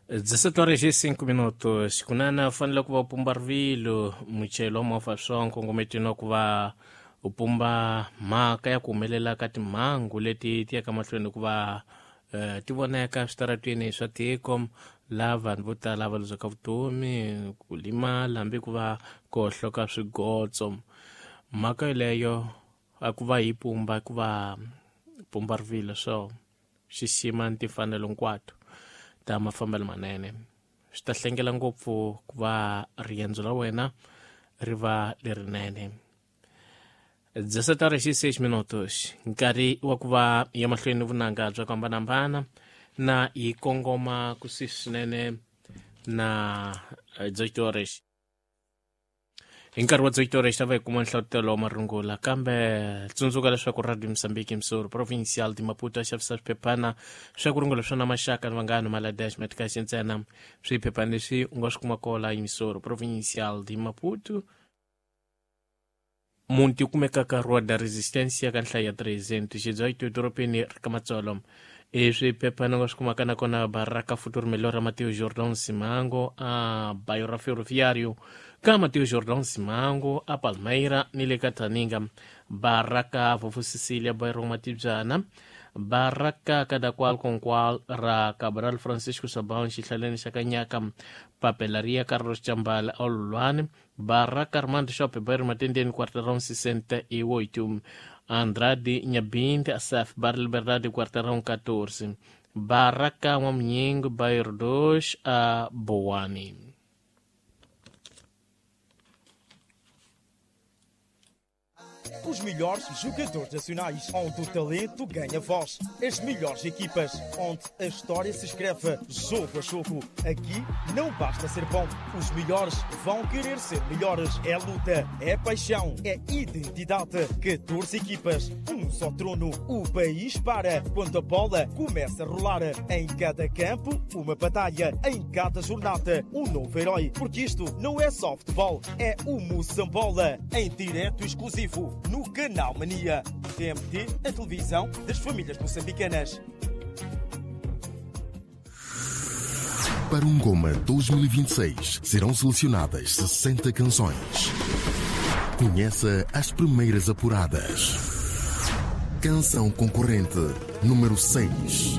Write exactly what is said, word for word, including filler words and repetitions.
dezessete horas e cinco minutos. Kunana u fanele ku va u pumba rivilo muchayeri wa movha swa nkongometweni wa ku va u pumba mhaka ya ku humelela ka timhangu leti ti yaka mahlweni ku va eh, ti voneka switaratweni swa tiko laha vanhu vo tala va luzaka vutomi, ku limala hambi ku va ku hohloka swigotso. Mhaka yoleyo a ku va hi pumba ku va pumba rivilo swo xixima ni timfanelo hinkwato ta mafambelo manene swi ta hlengela ngopfu ku va riendzo ra wena ri va lerinene. dezessete horas e seis minutos, nkarhi wa ku va ya mahlweni vunanga bya ku hambanahambana na hi kongoma kusuhi swinene na dezoito horas. Hi nkarhi wa dezoito horas ta va hi kuma nhlavutelo wa marungula, kambe tsundzuka leswaku Radio Mozambique Msoro Provincial de Maputo a xavisa swiphephana swa ku rungula swona maxaka ni vanghana Maladesh Metcash ntsena. Swiphephana leswi u nga swi kuma kola Msoro Provincial de Maputo, muti kumekaka Rua da Resistência ka nhlayo ya trezentos dezoito edorobeni ra ka Matsolo. I swiphephana u nga swi kumaka nakona Baraka Futuro Melhor ra Mateo Jordão Simango a bairro Ferroviário ka Mateo Jordão Simango a Palmeira ni le ka Taninga, Baraka Vovó Cecília bairro Matibyana, Baraka Kadakwal Konkwal ra Cabral Francisco Sabão xihlaleni xa Kanyaka, Papelaria Carlos Chambala Olulwane, Baraka Armando Shop bairro Matendeni quarteirão sessenta e oito, Andrade Nhabinde Asaf Bar Liberdade quarteirão catorze, Baraka Maminhengo bairro dois a Boane. Os melhores jogadores nacionais, onde o talento ganha voz. As melhores equipas, onde a história se escreve jogo a jogo. Aqui não basta ser bom, os melhores vão querer ser melhores. É luta, é paixão, é identidade. catorze equipas, um só trono. O país para quando a bola começa a rolar. Em cada campo, uma batalha. Em cada jornada, um novo herói. Porque isto não é só futebol, é o Moçambola. Em direto exclusivo no Canal Mania. T M T, a televisão das famílias moçambicanas. Para o Ngoma dois mil e vinte e seis serão selecionadas sessenta canções. Conheça as primeiras apuradas. Canção concorrente número seis.